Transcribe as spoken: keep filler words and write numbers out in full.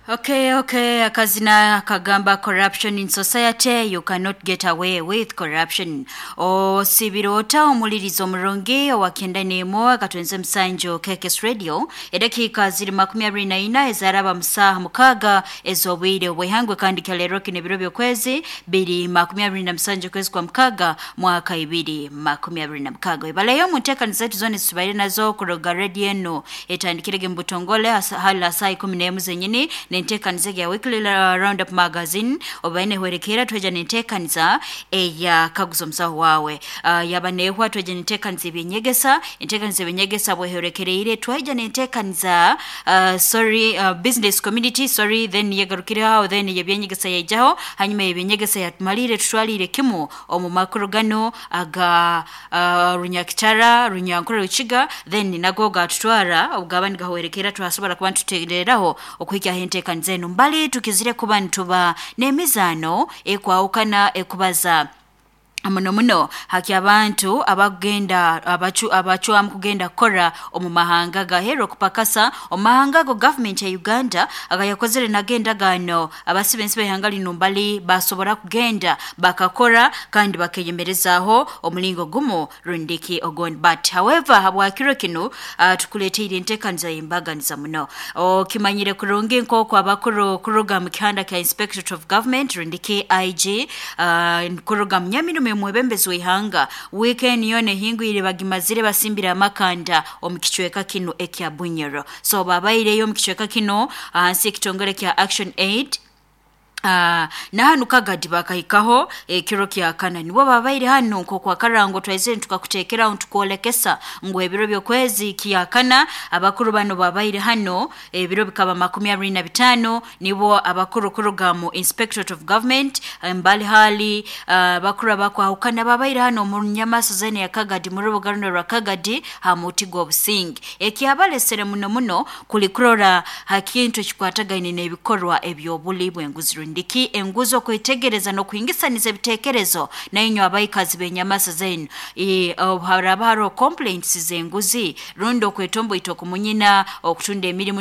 Okay, okay, akazina kagamba corruption in society you cannot get away with corruption. Osibirota omulirizo omurungi owakenda nemo akatwenze musanjo K K S Radio, edakiika ziri makumi abiri na ina ezaraba musaha mukaga ez'obwire obwihangwe. Kandi kyalero kino ebiro by'okwezi biri makumi abiri na musanju kwezi kwa mukaga mwaka ibiri makumi abiri na mukaga. Ibaleyo mu nteekaniza zetu zona ezitubaire nazo kuruga radio eno etandikirege mu butongole hasa- hala saa ikumi n'emu zenyini nenteekaniza ya Weekly Roundup Magazine obaine hwerekera, tweja nenteekaniza eya Kaguza Omusaho Wawe. uh, yaba nehwa, tweja nenteekaniza ebyenyegesa. Enteekaniza ebyenyegesa bweherekereire, twaija nenteekaniza uh, sorry, uh, business community, sorry, then yegarukireho, then yebyenyegesa yaijaho. Hanyuma yebyenyegesa yatumalire, tutwalire kimu omu makuru gano aga uh, Runyakitara, Runyankore, Rukiga, then nago gatutwara obugaba nigahwerekera, twasobora kuba nitutereraho okuhikyaho enteekaniza enu mbali tukizire kuba nituba n'emizaano ekwawukana ekubaza muno muno haki abantu abagenda abacu abacwamu kugenda kukora omu mahanga gahera okupakasa omu mahanga ago. Gavumenti ya Uganda agayakozere nagenda gano abasibe ensi behanga lino mbali basobora kugenda bakakora kandi bakeyemerezaaho omulingo gumu rundiki ogondi. But however, habwakiro kinu uh, tukuleteire enteekaniza y'embaganiza muno. Okimanyire kurungi nk'oku abakuru kuruga mu kihanda kya Inspectorate of Government rundiki I G, uh, kuruga mu nyamirume mwebembezi w'ihanga, weekend yona ehingwire bagimazire basimbire amakanda omu kicweka kino ekya Bunyoro. So babaireyo omu kicweka kino ahansi ekitongole kya Action Aid. Uh, na hanu Kagadi bakahikaho ekiro kya kana, nibo babaire hanu nk'okwakarango twaizire tukakuteekeraho ntukwolekesa ngu ebiro by'okwezi kyakana abakuru bano babaire hano. Ebiro bikaba makumi abiri na bitaano, nibo abakuru kuruga mu Inspectorate of Government mbali hali abakuru uh, abakwahukana babaire hano mu nyamaso zene ya Kagadi, mu rubuga runo rwa Kagadi ha muti gw'obusingi. Ekyabalesere muno muno kuli kurora ha kintu ekikwatagaine n'ebikorwa eby'obuli bw'enguzi rundiki enguzi, okwetegereza n'okuhingisaniza ebitekerezo nainywe abaikazi b'enyamasa zenu. Haraba hariho complaints z'enguzi rundi okwetomboita okumunyina okutunda emirimu.